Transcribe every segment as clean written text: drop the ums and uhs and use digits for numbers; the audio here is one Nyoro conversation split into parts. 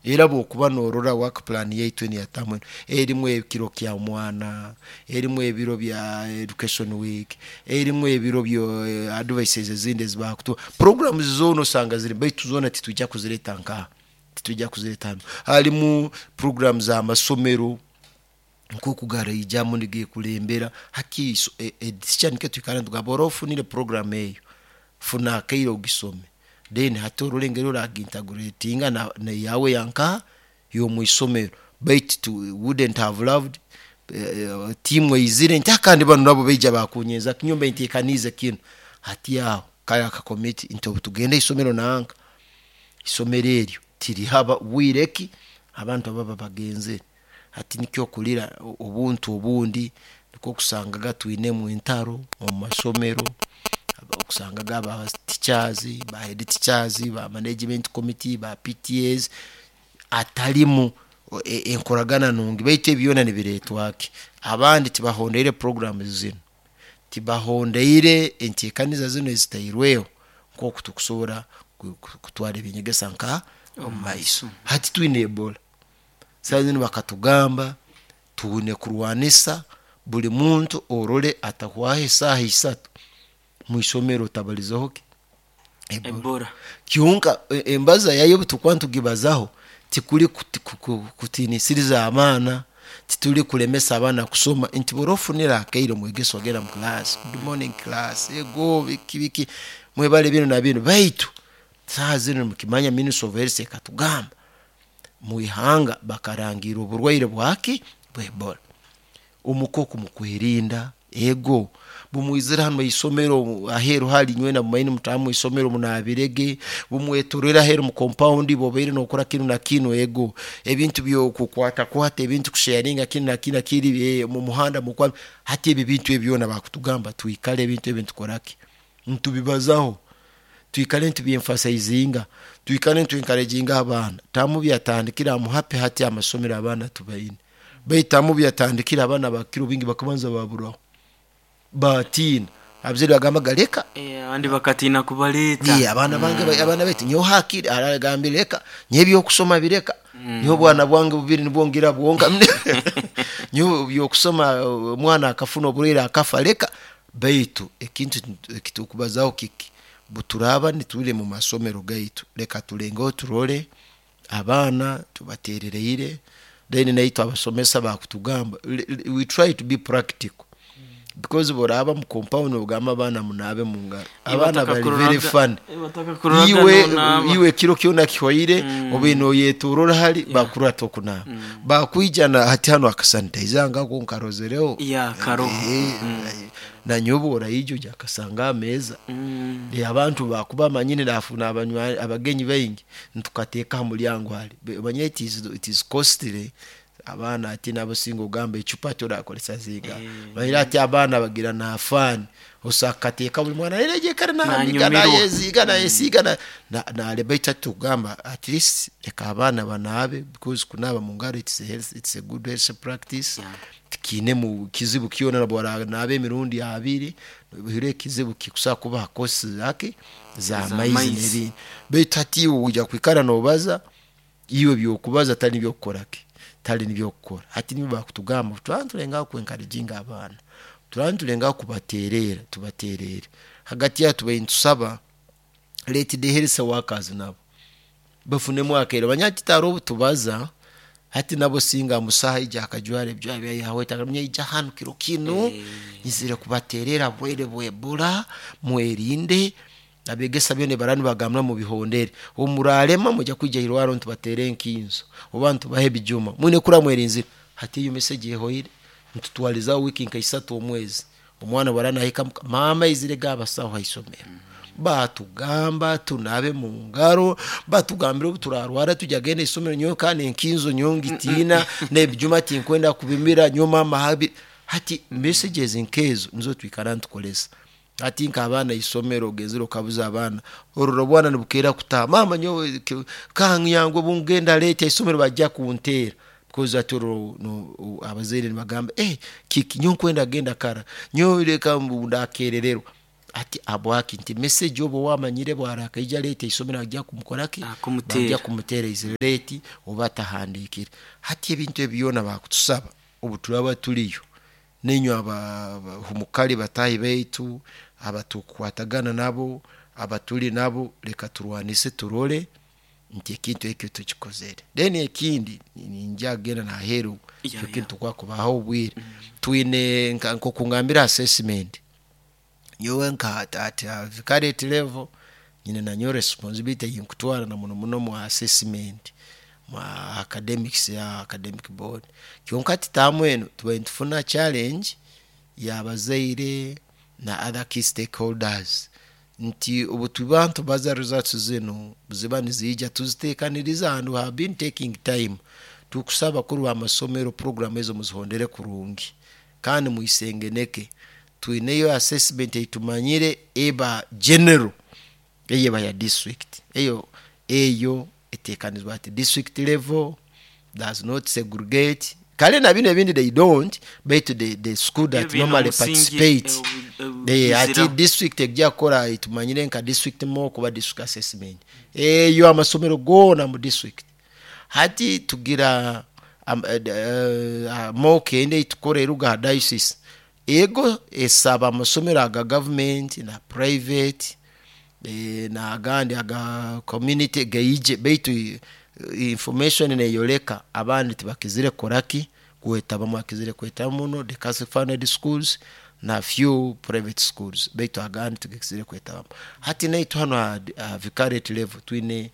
Era bwokuba norora work plan yaitu enu eyatamu enu, erimu ekiro kya mwana, erimu ebiro bya education week, erimu ebiro bya advices ezindi ezibakutuha. Programs zoona osanga zirimu baitu zoona titwija kuzireta nkaha, titwija kuzireta hanu. Harimu program z'amasomero nkoku garaijamu nigekulembera hati headteacher nikyo twikara nitugamba ora ofunire program eyo, funa akaire ogisome then hati orole engeri oragintegratinga neyawe eyankaha ey'omwisomero baitu we wouldn't have loved tiimu eizire nti kandi banu nabo baija bakunyenza ki nyowe mbaire ntekaniize kinu. Hati aho kare akakomiti nti obutugenda haisomero nanka, isomero eryo tirihaba bwire ki abantu ababa bagenzere. Hati nikyo okurira obuntu obundi nikwo okusangaga twinemu entaro omu masomero, okusangaga aba teachers, ba head teachers, ba management committee, ba PTAs atarimu enkoragana nungi baitu ebi byona nibiretwa ki? Abandi tibahondeire programs zinu, tibahondeire entekaniza zinu ezitairweho nkoku tukusobora kutwara eby'enyegesa nka omu maiso. Hati twine Ebola, saaha zinu bakatugamba twine kurwanisa buli muntu orole atahwaho esaaha isatu mwisomero otabalizeho ki? Ebola. Kyonka embaza yayo obu tukuba nitugibazaho tikuli kutinisiriza abaana, tituli kulemesa abaana kusoma nti bwora ofunire akaire omwegesa ogenda mu class, good morning class, ego biki biki mwebale binu na binu baitu saaha zinu nimukimanya ministry of health ekatugamba mwihanga bakarangiira oburwaire bwaki? Bwa Ebola. Omuka oku mukwerinda ego bumwizire hanu haisomero aheeru hali inywena mumaine mutaahe mwisomero munabirege, bumwetorora aheeru mu compound bobaire nokora kinu na kinu ego ebintu byokukwatakwata ebintu kusheyaringa kinu na kinu nakiri mumuhanda mukwami hati ebi ebintu ebi byona bakutugamba twikale ebintu ebi nitukoraki nitubibazaho twikale nitubyemfasaizinga twikale nitu encouraginga abaana tamu byatandikire am happy hati amasomero abaana tubaine baitu tamu byatandikire abaana bakiro bingi bakabanza baburaho batiina abazaire bagambaga leka Abandi bakatiina kubaleeta. Abaana bange abaana baitu nyowe hakiri aragambire leka nyowe ebyokusoma bireka nyowe obwana bwange bubiri nibwo ngira bwonka nyowe ebyokusoma omwana akafuna oburwaire akafa leka baitu ekintu ekitukubazaho kiki buturaaba nituri omu masomero gaitu leka tulengeho turole abaana tubaterereire then naitwe abasomesa bakutugamba we try to be practical because bworaba mu compound nogamba abaana munaabe mungaro abaana bari very funny Batakakuroraga nonaaba. iwe ekiro kyona kihwaire obaire noyetorora hali bakurora tokunaaba bakwija na hati hanu akasanitizer ngako nkarozereho Yeah, karoho. Nanyowe bworaija oija kasanga aha meeza. Abantu bakuba bamanyire nafuna abagenyi baingi nitukateeka ha mulyango hali omanyire it is costly abaana hati nabo singa ogamba ecupa torakozesa zingaha omanyire hati abaana bagira na fun osobola kukateeka buri mwana naija namiga Nanyumirwa. nayeziiga nayesiiga nareba baitu hati tukugamba at least leka abaana banaabe because kunaaba mungaro it's a health, it's a good health practice tikiinemu kizibu kyona nobworanaaba emirundi abiri hiro ekizibu kikusobora kuba ha cost zaki z'amaizi Z'amaizi. n'ebindi baitu hati iwe oija kwikara nobaza iwe ebyokubaza tari nibyo okukora ki tari nibyo okukora hati nibo bakutugamba turaba nitulengaho ku encouraginga abaana turaba nitulengaho kubatererra tubatererre hagati aho tubaire nitusaba let the health workers nabo bafunemu akaire omanyire hati haroho obu tubaza hati nabo singa musaho aija akajwara ebijwaro byaye yahweta akamanya ija hanu kiro kinu nyizire kubatererra burwaire bwa Ebola mwerinde abegesa byona ebi baraba nibagamba mubihondere obu murarema mwija kwija hairwarro nitubateera enkinzo oba nitubaha ebijuma mwine kurora mwerinzire hati eyo message ehoire nitutwalizaho wiiki nka isatu omwezi omwana obu araba nahika muka maama aizirege abasaho haisomero batugamba tunaabe mungaro batugambira obu turarwara tujya genda haisomero nyowe kandi enkinzo nyowe ngitiina n'ebijuma tinkwenda kubimira nyowe maama habi hati messages nkezo nizo twikara nitukoresa hati nk'abaana haisomero ogenzere okabuza abaana orora obwana nibukeera kutaaha maama nyowe kanyangu obungenda late haisomero bajja kunteera because hati orora abazaire nibagamba kiki nyowe nkwenda genda kara nyowe leka ngu ndakerererwa. Ati habwaki nti message oba wamanyire bwarakaija late isomero ajja kumukoraki, Kumuteera. bajja kumuteera ize late oba atahandikire. Hati ebintu ebi byona bakutusaba obu turaba tuliyo ninywe abahumukali batahi baitu abatukwatagana nabo abatuli nabo, leka turwanise turole nti ekintu ekyo tukikozere. Then ekindi ninja kugenda naheru ekintu kwakubaho obwire twine nkokungambira assessment nyowe nka at vicariate level nyine nanyowe responsibility eyinkutwara na muno muno mu assessment mu academics ya academic board. Kyonka titamu eno tubaire nitufuna challenge y'abazaire na other key stakeholders nti obu tuba nitubaza results zinu ziba niziija tuziteekaniriza and we have been taking time. Tukusaba abakuru b'amasomero program ezo muzihondere kurungi kandi mwisengeneke. Twineyo assessment eitumanyire eba general eyo eba ya district, eyo etekanizibwa at district level, does not segregate. Kale na binu ebindi they don't, baitu the school that Ebyo normally omusingi, participate. Ati bizira. district ejja kukora tumanyire nka district mock oba district assessment eyo amasomero goona mu district. Hati tugira mock endi eitukora eruga ha diocese, ego esaba amasomero aga government na private n'agandi aga community gaije, baitu information neyoleka abandi tibakizire kukoraki kwetabamu, bakizire kwetaba muno the Catholic funded schools na few private schools, baitu agandi tigakizire kwetabamu. Hati naitwe hanu ha vicariate level twine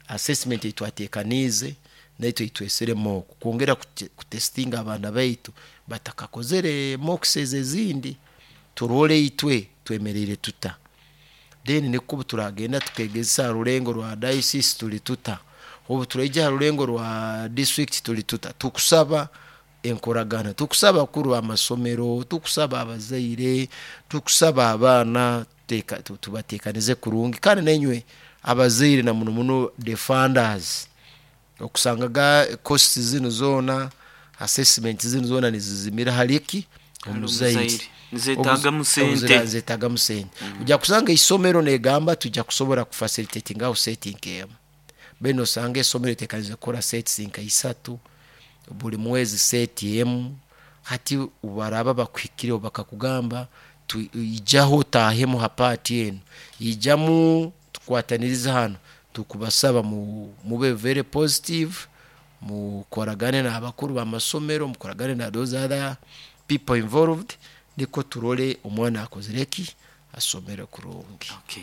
assessment eitwateekaniize naitwe eitwesere mock kwongera kutestinga abaana baitu batakakozere mocks ezi ezindi, turole itwe twemereire tuta. Then nikwo obu turagenda tukegesa ha rulengo rwa diocese tuli tuta, obu turaija ha rulengo rwa district tuli tuta. Tukusaba enkoragana, tukusaba abakuru b'amasomero, tukusaba abazaire, tukusaba abaana tubateekanize kurungi. Kandi nainywe abazaire na muno muno the funders, okusangaga costs zinu zoona assessment zinu zoona nizizimira hali ki omuzaire. Nzetagamu sente. Nzetagamu sente. Ojja kusanga isomero negamba tujja kusobora kufacilitatingaho set nk'emu, baitu nosanga isomero litekanize kukora sets nka isatu buli mwezi set emu. Hati obu baraba bakuhikireho bakakugamba ijaho otahemu ha part enu, ijamu tukwatanirize hanu, tukubasaba mube very positive, mukoragane n'abakuru b'amasomero, mukoragane na those other people involved, nikwo turole omwana akozire ki, asomere kurungi. Okay.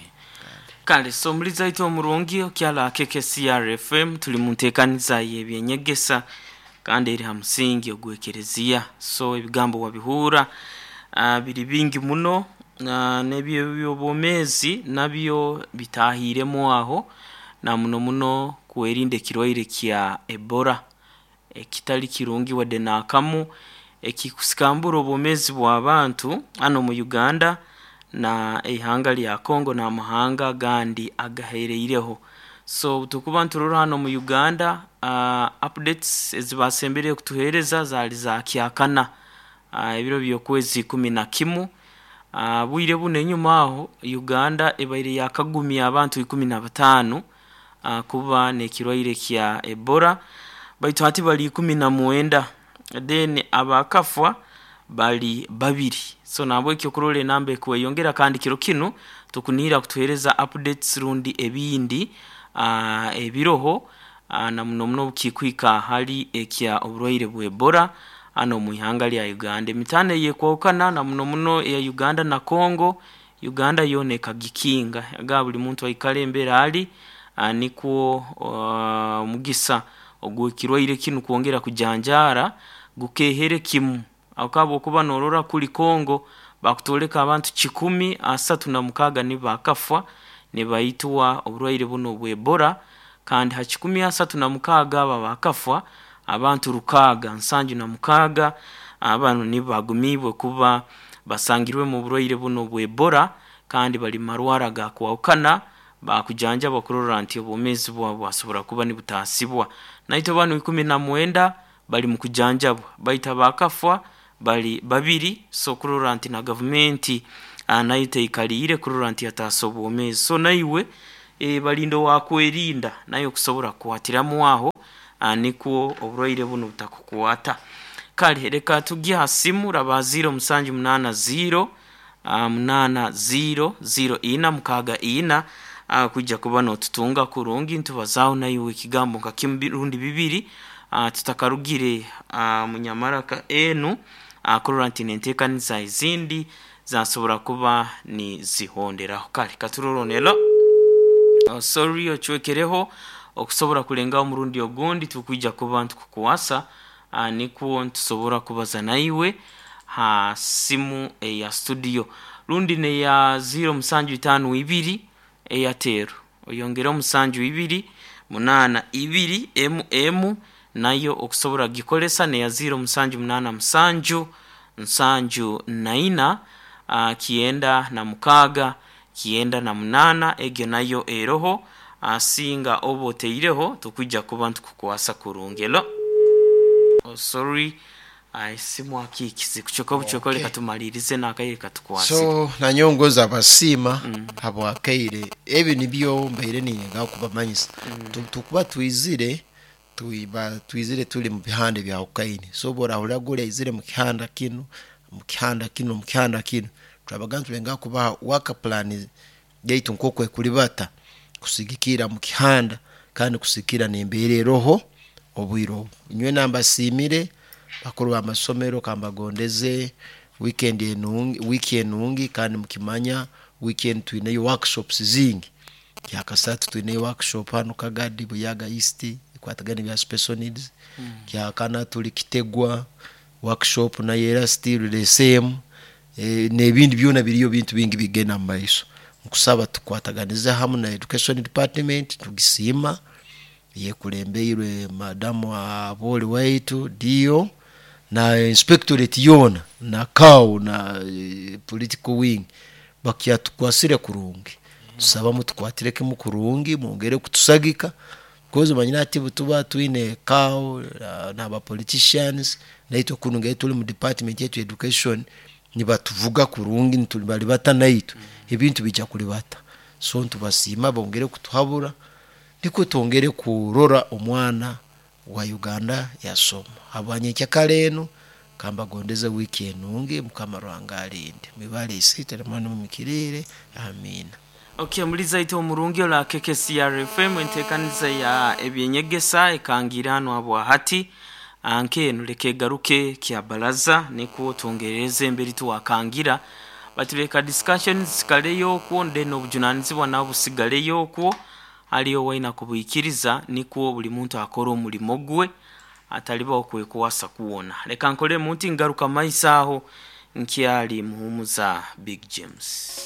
Kale so omulizi aitu omurungi okyala KKCR FM, tuli mu nteekaniza y'ebyenyegesa kandi eri ha musingi ogw'ekereziya. So ebigambo wabihuura biri bingi muno, n'ebyobwomeezi nabyo bitahiiremu aho, na muno muno kwerinda ekirwaire kya Ebola ekitali kirungi wadde n'akamu, ekikusikambura obwomeezi bw'abantu hano mu Uganda na eihanga lya Congo n'amahanga agandi agahereireho. So tukuba nturora hano mu Uganda, updates ezibasembereye kutuheereza zaali za kyakana, ebiro by'okwezi 11. Bwire buno enyuma aho Uganda ebaire yakagumya abantu 15 kuba n'ekirwaire kya Ebola, baitu hati bali 19, then abakafwa bali 2. So nabwekyo kurora enamba ekweyongera, kandi kiro kinu tukunihira kutuheereza updates rundi ebindi ebiroho, na muno muno obukikwika hali ekya oburwaire bwa Ebola hano mu ihanga lya Uganda. Emitaano eyekwahukana na muno muno eya Uganda na Congo, Uganda yoona ekagikinga aga buli muntu aikale embera ali, nikwo omugisa ogw'ekirwaire kinu kwongera kujanjaara gukehere kimu. Akaba okuba norora kuli Congo bakutoleka abantu 136 nibo bakafwa nibaitwa oburwaire buno obwa Ebola, kandi ha 136 abo bakafwa abantu 676 abanu nibo bagumiibwe kuba basangirwemu oburwaire buno obwa Ebola, kandi bali marwara gakwahukana bakujanjaba kurora nti obwomeezi bwabo bwasobora kuba nibutasibwa. Naitwe banu 19 bali mu kujanjabwa, baitu abakafwa bali 2. So kurora nti na gavumenti Nayo teikaliire kurora nti yataasa obwomeezi. So naiwe balinda owakwerinda nayo okusobora kukwatiramu aho, nikwo oburwaire bunu butakukwata. Kale leka tugye ha simu raba 0780 80 04 64, kwija kuba notutunga kurungi ntubazaaho naiwe ekigambo nka kimu rundi bibiri, tutakarugire munyamaraka enu, kurora nti nenteekaniza ezindi zasobora kuba nizihonderaho. Kale katurore onelo. Oh, sorry, ocwekereho okusobora kulengaho omurundi ogundi, tukwija kuba ntukukwasa, nikwo ntusobora kubaza naiwe ha simu eya studio rundi neya 0752 Airtel, oyongereho 72 82 emu nayo okusobora kugikozesa, neya 0787 74 96 98, egyo nayo eroho. Singa oba oteireho tukwija kuba ntukukwasa kurungi. Elo. Oh, sorry, esimu akikize kucweka obucweka. Leka tumalirize n'akaire katukwasire. So nanyowe ngoza abasiima habwakaire. Ebi nibyo mbaire ninyengaho kubamanyisa. Tukuba twizire, tuiba twizire tuli mu bihanda ebyahukaine. So obu orahurra guli aizire mu kihanda kinu, mu kihanda kinu, mu kihanda kinu, turabaga nitulengaho kubaha work plan yaitu nk'oku ekulibata kusigikirra mu kihanda kandi kusigikirra n'embeera eroho obwire obu. Nyowe nambasiimire bakuru b'amasomero, kambagondeze weekend enungi, wiiki enungi. Kandi mukimanya wiiki enu twineyo workshops zingi. Kyakasatu twineyo workshop hanu Kagadi Buyaga East ekwatagana ebya special needs. Kyakana tuli Kitegwa workshop nayo era still the same, n'ebindi byona biriyo, bintu bingi bigenda mu maiso. Nkusaba tukwataganize hamu na education department, tugisiima eyekulembeirwe madamu Abori waitu dio na inspectorate yoona na CAO na political wing bakyatukwasire kurungi. Tusaba mutukwatire kimu kurungi, mwongere kutusagika, because omanyire hati obutuba twine CAO n'aba politicians naitwe kunu ngeri tuli mu department yaitu education nibatuvuga kurungi, nibalibata naitwe ebintu biija kulibata. So nitubasiima bongere kutuhabura nikwo twongere kurora omwana wa Uganda yasoma. Habwa nyenkyakara enu kambagondeze wiiki enungi, Mukama Ruhanga alinde. Mwibale Isiitwe na Mwana Mumikiriire, amiina. Ok, muliza itwe omurungi ola KKCR FM, entekaniza ya ebyenyegesa ekangiire hanu habwahati nk'enu leka egaruke kya baraza nikwo twongerereze emberi tuwakangira, batuleka discussions zikaleyo okwo, then obujunanizibwa nabwo busigaleyo okwo haliyo waina kubuikiriza nikwo buli muntu akore omulimo gwe atalibaho kwekwasa kwona. Leka nkolemu nti ngaruka maiso aho nkyali muhumuza Big James.